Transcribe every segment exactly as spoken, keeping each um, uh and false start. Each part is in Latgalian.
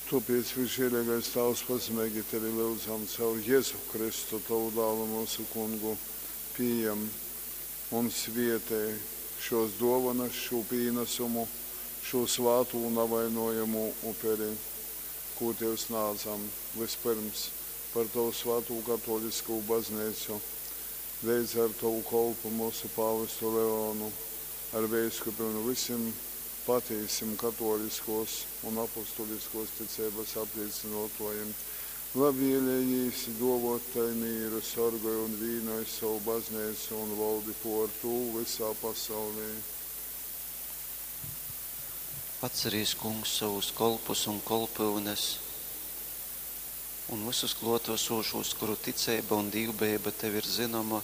Tōpēc, visžēleigais Tāvs, pazemeigi Tevi lyudzam caur Jezu Kristu, Tovu Dālu, myusu Kungu, pījem un svietej šōs dōvonas, šū pīnasumu, šū svātū navainojamū uperi, kū Tev snādzam, vyspyrms, par Tovu svātū katōliskū Bazneicu, leidza ar Tovu kolpu, myusu pāvestu Leonu, ar veiskupim un vysim patīsim katōliskōs un apostuliskōs ticeibas aplīcynōtōjim. Labvēlejīs dōvōt tai mīru, sorgoj un vīnoj sovu Bazneicu un voldi pōr tū vysā pasaulī. Atcerīs, Kungs, sovus kolpus un kolpyunes un vysus klōtasūšūs, kuru ticeiba un dīvbejeiba Tev ir zynoma,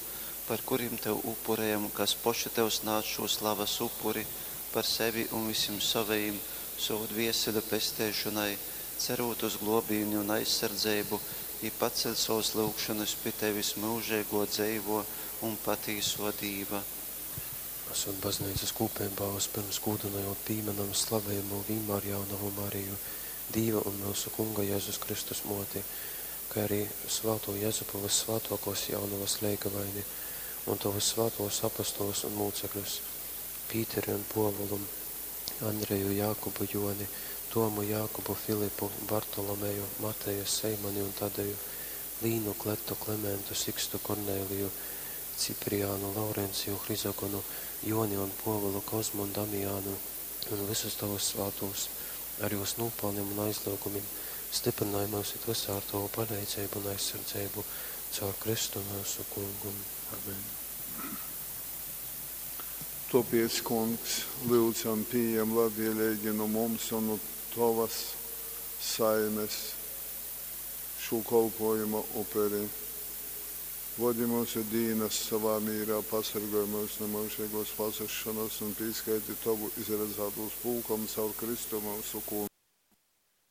par kurim Tev upurejam, kas poši Tev snādz šū slavas upuri par sevi un vysim sovejim sovu dvieseļu pesteišonai, cerūt uz glōbīni un aizsardzeibu, jī paceļ sovas lyugšonys pi Tevis, myužeigō, dzeivō un patīsō Dīva. Asūt Bazneicas kūpeibā, vyspyrms gūdynojūt pīmynam slavejamū Vīnmārjaunovu Mariju, Dīva un myusu Kunga Jezus Kristus Mōti, kai arī svātū Jezupu Vyssvātōkōs Jaunovas leigavaini un Tovus svātūs apostolus un mūcekļus, Pīteri un Pōvulu, Andreju, Jākubu, Jōni, Tomu, Jākubu, Filipu, Bartolomeju, Mateju, Seimani un Tadeju, Līnu, Kletu, Klementu, Sikstu, Korneliju, Cipriānu, Laurenciju, Hrizogonu, Jōni un Pōvulu, Kozmu un Damiānu un vysus Tovus svātūs, ar jūs nūpalnim un aizlyugumim, styprynoj myus it vysā ar Tovu paleidzeibu un aizsardzeibu caur Kristu myusu Kungu. Amen. Tōpēc, Kungs, lyudzam, pījem labvēleigi nu mums un nu Tovas saimes šū kolpōjuma uperi. Vodi myusu dīnas sovā mīrā, pasorgoj myus nu myužeigōs pazusšonas un pīskaiti Tovu izradzātūs pulkam caur Kristu myusu Kungu.